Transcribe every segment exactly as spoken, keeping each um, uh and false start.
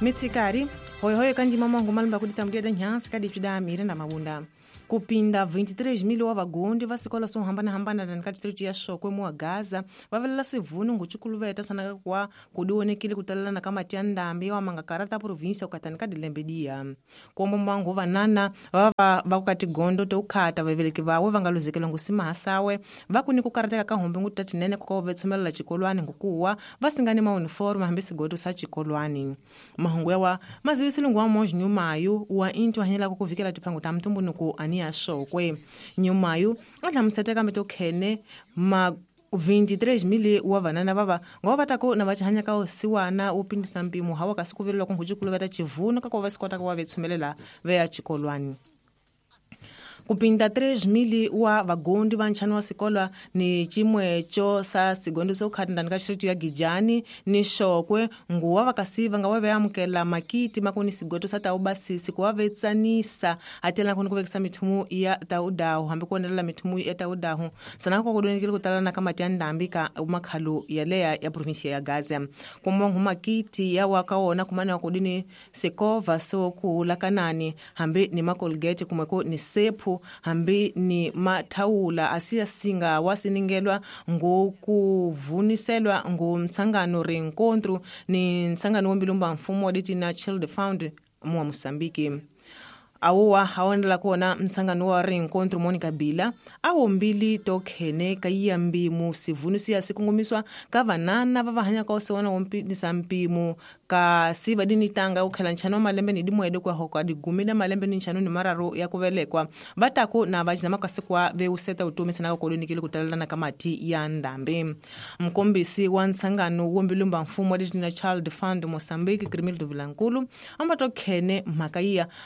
Mitsikari hoyohoyo kandima mwangu malumba kuditambulia da nhansi kadipida mire na mabunda. Kupinda vinte e três mil wa vagondi va sikolo swo hambanahambana ndani ka district ya Shokwe muwa Gaza va velela sivunu nguchukuluveta sanaka kwa kudionekile kutalelana ka mati ya ndambi wa mangakarata província ukatani ka dilembe diya. Kombo mwangu vanana va va va ku tigondo to ukhata vaveleki vawe va nga luzekela ngusima hasawe va ku ni ku karateka ka hombe nguta tinene ku ve tshomelela chikolwani ngukuwa va singani ma uniform hambi sigodo sa chikolwani. Mahungu yawa mazivisilungu wa monji nyumayu wa intu hanyela ku kuvikela tiphangu ta mtumbunuku ani ya Shokwe. Nyumayu atlamutsateka metokhene ma vinte e três mil wa vanana vava ngova vatako na vachihanya ka osiwana wo pindisa mpimo hawa kasi ku vilelwa ku nghuchukulu va ta chivunu ka ku va sikota ku va vetshumelela ve ya chikolwani. Kupinda três mil wa vagondi va nchano wa sikolwa ni chimwecho sa sigondo so khati ndani ka district ya Gijani ni Shokwe nguwa vakasiva nga wa amukela makiti makuni sigoto sa taubasisi ku va vetsanisa atela kuni ku vekisa mithumu ya taudahu hambi ku onelela mithumu ya taudahu sana ku kudonekile ku talana ka mati ya ndambi ka makhalo ya leya ya província ya Gaza kumwa makiti ya wa ka wona kumana wa kudini sekova so ku lakanani hambi ni makolgate kumweko ni sephu hambi ni mathawula asiya singa wasiningelwa ngokuvuniselwa ngomtsangano rencontro ni ntsangano wombilumba mfumo wa Child Fund mwa Mozambique. Awowa haonela kona mtsangano wa rencontro Monica Bila awo mbili tokhene ka mbimu sivunu siya sikungumiswa ka vanana va vahanya ka osiwana wompinisa mpimo ka siva dini tanga ukhela nchano malembe ni dimwede kwa hoko digumi na malembe ni nchano ni mararo ya kuvelekwa vatako na vachizama kasikwa veuseta utomi sana kolonikile kutalelana ka mati ya ndambi. Mkombisi wa ntsangano wombilumba mfumo wa Dina Child Fund Mozambique Crimildo Vilankulu amba tokhene mhaka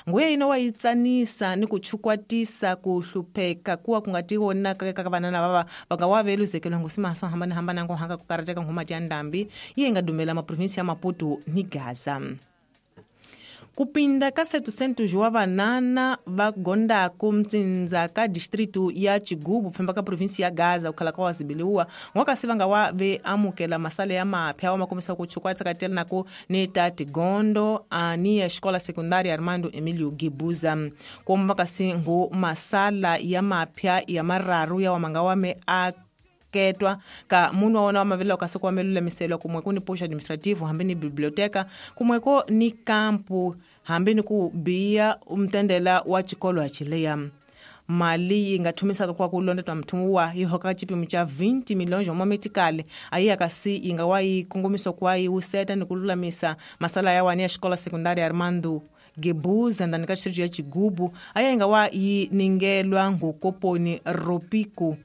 nguye ino wa itsanisa ni kuchukwatisa kuhlupheka kuwa kungatiwona ka vanana vava vakawaveluzekelo ngusima so hambana hambana ngo hanga kukarateka ngomati ya ndambi iye ngadumela maprovinsi ya Maputo ni Gaza. Kupinda ka setecentos wa vanana va gondako mtsinza ka distrito ya Chigubu phemba ka província ya Gaza ukhala ka wazibiliwa ngwakasi vanga wa ve amukela masale ya mapya wa makomisa ku chukwatsa katela nako ni tati gondo ani ya escola secundária Armando Emílio Guebuza komba kasi ngo masala ya mapya ya mararu ya wamanga wame a ketwa ka munhu wa wona wa mavelo kasi ku amelulamiselwa kumwe ku ni posto administrativo hambi ni biblioteca kumwe ko ni kampu hambi ni ku biya umtendela wa chikolo ya chileya. Mali yi nga thumisaka kwa ku londetwa mthumu wa yi hoka chipimo cha vinte milhões wa metikale ayi akasi yi nga wa yi kongomiso kwa yi useta ni ku lulamisa masala ya wani ya xikola secundária Armando Guebuza ndani ka distrito ya Chigubu ayi nga wa yi ningelwa ngokoponi Ropico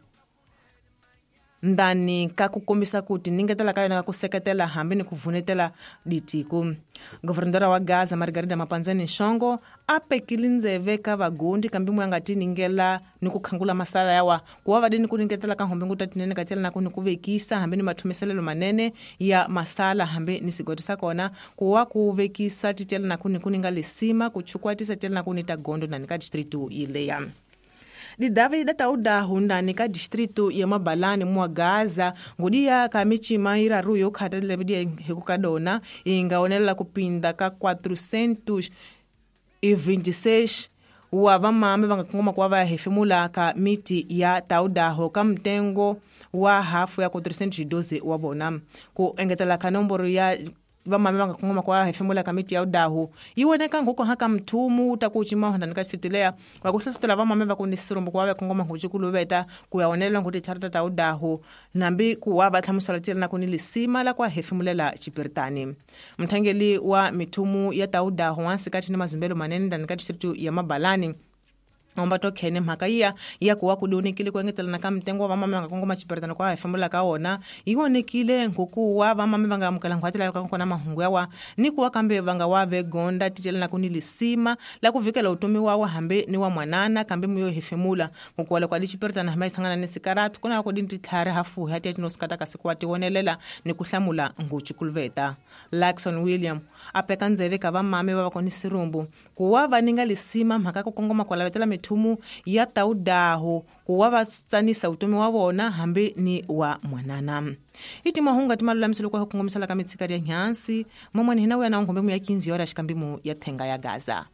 ndani ka ku kombisa kuti ningetela ka yona ka ku seketela hambi ni ku vunetela ditiko. Governadora wa Gaza Margarida Mapanzani Nshongo a pekile ndzeve ka vagondi kambi mwe nga ti ningela ni ku khangula masala yawa ku wa vadini ku ningetela ka hombe nguta tinene ka tela na ku ni ku vekisa hambi ni mathumiselelo manene ya masala hambi ni sigodi sa kona ku wa ku vekisa titela na ku ni ku ninga lesima ku chukwatisa tela na ku ni ta gondo ndani ka distrito ileya. Didavi da tauda hundani ka distrito ya Mabalani mwa Gaza ngudia ka michima iraru yo khatele bidia hikukadona ingaonela kupinda ka quatrocentos e vinte e seis wa vamame vangakongoma kwa va hefemula ka miti ya taudaho ka mtengo wa hafu ya quatrocentos e doze wa bona ku engetela ka nomboro ya vamame vangakongoma kwa hefemula ka miti ya udahu iwoneka ngoko haka mthumu takuchima hondani ka district wa kuhlohlotela vamame va ku ni sirumbu kwa va kongoma nguchukuluveta ku ya onela nguti charata ta udahu nambi ku wa va hlamusela tela na ku ni lisima la kwa hefemulela chipiritani. Mthangeli wa mithumu ya taudahu wansikati ni mazimbelo manene ndani ka district ya Mabalani omba tokhene mhaka iya ya kuwa kudonekile ku engetelana ka mtengo wa vamame va nga kongoma chipiritano kwa hefemula ka wona yi vonekile ngokuwa vamame va nga amukela nghwatela ka kona mahungu yawa ni kuwa kambe va nga wa ve gonda titelana ku ni lisima la ku vikela utomi wawa hambi ni wa mwanana kambe muyo hefemula ngokuwa loko ali chipiritano hambi sangana ni sikaratu kuna ku dini tlhari hafu ya tiyati no sikata kasi ku wa tiwonelela ni ku hlamula nguchukuluveta. Lakson William apeka ndzeve ka vamame va va koni sirumbu ku wa va ninga lisima mhaka ku kongoma kwa lavetela mithumu ya taudaho ku wa va tsanisa vutomi wa vona hambi ni wa mwanana. I timahungu ti malulamiselo kwa ku kongomisela ka mitshikari ya nhansi momwani hina wuya na nghombe mu ya quinze horas xikambi mu ya thenga ya Gaza.